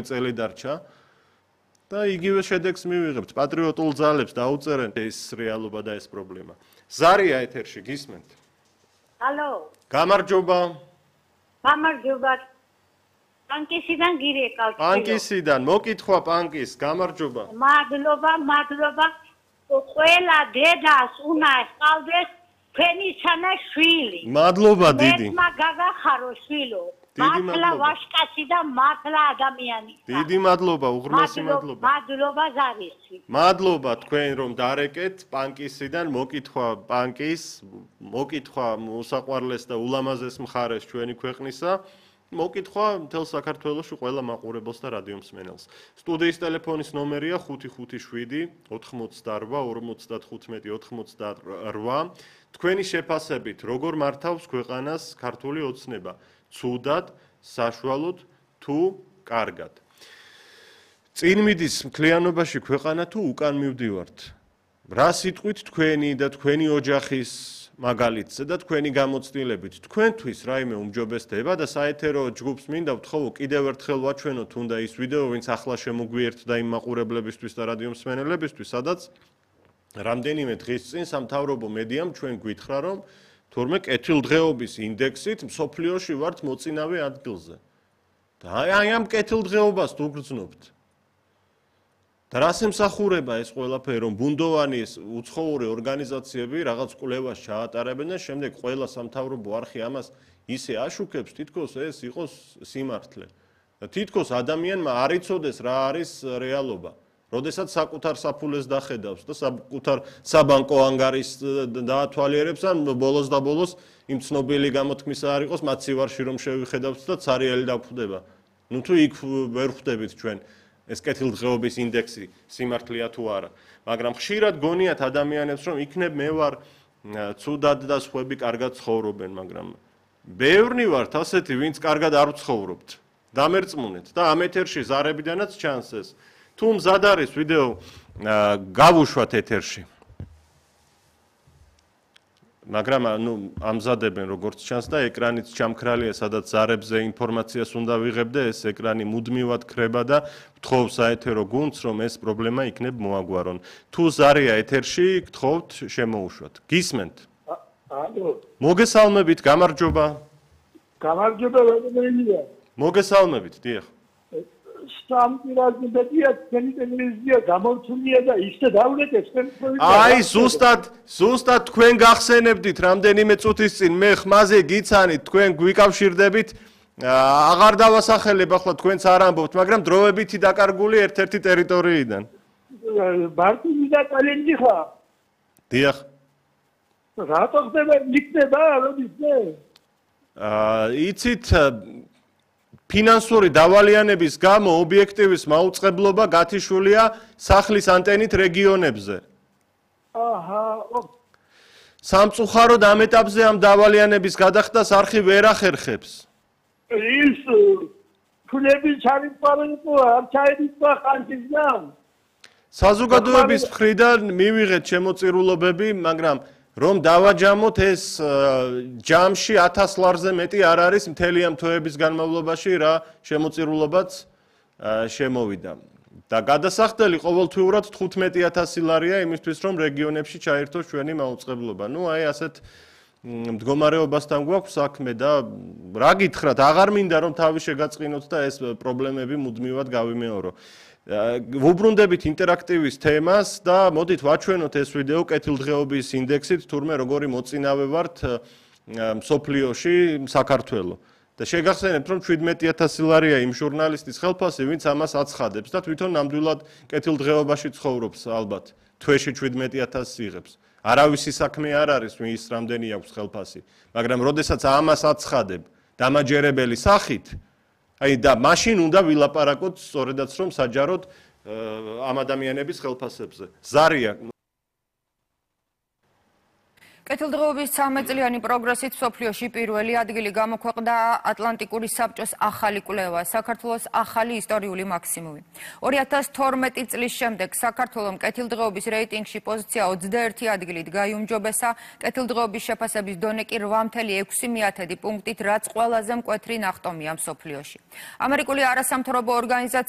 წელი დარჩა და იგივე შედეგს მივიღებთ. პატრიოტულ ძალებს დაუწერენ ეს რეალობა და ეს პრობლემა. ზარია ეთერში გისმენთ? Hello. გამარჯობა. გამარჯობა. პანკისიდან გირეკავთ. პანკისიდან, მოკითხვა პანკის, გამარჯობა. მადლობა. ყველა დედას უნდა ჰყავდეს თქვენი შვილი. მადლობა დიდი. მე გაგახარო შვილო. მართლა ვაშკაცი და მართლა ადამიანი. დიდი მადლობა, უღრმესი მადლობა. მადლობა ზარისი. მადლობა თქვენ რომ დარეკეთ პანკისიდან, მოკითხვა პანკის, მოკითხვა უსაყვარლეს და ულამაზეს მხარეს ჩვენი ქვეყნისა. მოკითხვა მთელ საქართველოში ყველა მაყურებელს და რადიო მსმენელს. სტუდიის ტელეფონის ნომერია 557 88 55 88. თქვენი შეფასებით როგორ მართავს ქვეყანას ქართული ოცნება? ცუდად, საშუალოდ თუ კარგად? წინ მიდის მთლიანობაში ქვეყანა თუ უკან მივდივართ? რა სიტყვით თქვენი და თქვენი ოჯახის მაგალითზე და თქვენი გამოცდილებით თქვენთვის რაიმე უმჯობესდება და საეთერო ჯგუფს მინდა ვთხოვო კიდევ ერთხელ ვაჩვენოთ თუნდა ის ვიდეო ვინც ახლა შემოგვიერთდა იმ მაყურებლებისთვის და რადიო მსმენელებისთვის სადაც რამდენიმე დღის წინ სამთავრობო მედიამ ჩვენ გვითხრა რომ თურმე კეთილდღეობის ინდექსით მსოფლიოში ვართ მოწინავე ადგილზე და აი ამ კეთილდღეობას თუ გრძნობთ და რას ემსახურება ეს ყველაფერი რომ ბუნდოვანი ეს უცხოური ორგანიზაციები რაღაც კვლევას ჩაატარებენ და შემდეგ ყველა სამთავრობო არხი ამას ისე აშუქებს თითქოს ეს იყოს სიმართლე და თითქოს ადამიანმა არ იცოდეს რა არის რეალობა როდესაც საკუთარ საფულეს დახედავს და საკუთარ საბანკო ანგარიშს დაათვალიერებს ან ბოლოს და ბოლოს იმ ცნობილი გამოთქმისა არ იყოს მაცივარში რომ შევიხედავთ და ცარიელი დაგვხვდება ნუ თუ იქ ვერ ხვდებით ჩვენ ეს კეთილდღეობის ინდექსი სიმართლეა თუ არა მაგრამ ხშირად გონიათ ადამიანებს რომ იქნებ მე ვარ ცუდად და სხვები კარგად ცხოვრობენ მაგრამ ბევრნი ვართ ასეთი ვინც კარგად არ ვცხოვრობთ დამერწმუნეთ და ამ ეთერში ზარებიდანაც ჩანს ეს თუ მზად არის ვიდეო გავუშვათ ეთერში მაგრამ ნუ ამზადებენ როგორც ჩანს და ეკრანიც ჩამქრალია სადაც ზარებზე ინფორმაციას უნდა ვიღებ და ეს ეკრანი მუდმივად ქრება და ვთხოვ საეთერო გუნდს რომ ეს პრობლემა იქნებ მოაგვარონ თუ ზარია ეთერში გთხოვთ შემოუშვათ გისმენთ ალო მოგესალმებით გამარჯობა ვეძებელია მოგესალმებით დიახ სამპირაზებია ტელევიზია გამორჩულია და ისე დავლეკეს აი ზუსტად თქვენ გახსენებდით რამდენიმე წუთის წინ მე ხმაზე გიცანით თქვენ გვიკავშირდებით აღარ დავასახელებ ახლა თქვენც არ ამბობთ მაგრამ დროებითი დაკარგული ერთ-ერთი ტერიტორიიდან ბარტინი და კალენჯი ხა დიახ რატო ხდება იქნება როდის იცით ფინანსური დავალიანების გამო ობიექტივის მაუწყებლობა გათიშულია სახლის ანტენით რეგიონებზე. აჰა. სამწუხაროდ ამ ეტაპზე ამ დავალიანების გადახდას არხი ვერ ახერხებს. ის ფულები ჩარიყვანილო არ ჩაიდიწყა ხანჯიდან. საზოგადოების მხრიდან მივიღეთ შემოწირულობები, მაგრამ რომ დავაჯამოთ ეს ჯამში 1000 ლარზე მეტი არ არის მთელი ამ თვეების განმავლობაში რა შემოწირულობაც შემოვიდა. და გადასახდელი ყოველთვიურად 15000 ლარია იმისთვის რომ რეგიონებში ჩაერთოს ჩვენი მაუწყებლობა. ნუ აი ასეთ მდგომარეობასთან გვაქვს საქმე და რა გითხრათ, აღარ მინდა რომ თავი შეგაწყინოთ და ეს პრობლემები მუდმივად გავიმეორო. ვუბრუნდებით ინტერაქტივის თემას და მოდით ვაჩვენოთ ეს ვიდეო კეთილდღეობის ინდექსით თურმე როგორი მოწინავე ვართ მსოფლიოში საქართველოს და შეგახსენებთ რომ 17000 ლარია იმ ჟურნალისტის ხელფასი ვინც ამას აცხადებს და თვითონ ნამდვილად კეთილდღეობაში ცხოვრობს ალბათ თვეში 17000 იღებს არავისი საქმე არ არის ის რამდენი აქვს ხელფასი მაგრამ როდესაც ამას აცხადებ დამაჯერებელი სახით აი და მაშინ უნდა ვილაპარაკოთ სწორედაც რომ საჯაროდ ამ ადამიანების ხელფასებზე. ზარია კეთილდღეობის 13-წლიანი პროგრესით მსოფლიოში პირველი ადგილი გამოქვეყნდა ატლანტიკური საბჭოს ახალი კვლევა, საქართველოს ახალი ისტორიული მაქსიმუმი. 2012 წლის შემდეგ საქართველომ კეთილდღეობის რეიტინგში პოზიცია 21 ადგილით გაიუმჯობესა, კეთილდღეობის შეფასების დონე კი 8,6 პუნქტით, რაც ყველაზე მკვეთრი ნახტომია მსოფლიოში. ამერიკული არასამთავრობო ორგანიზაცია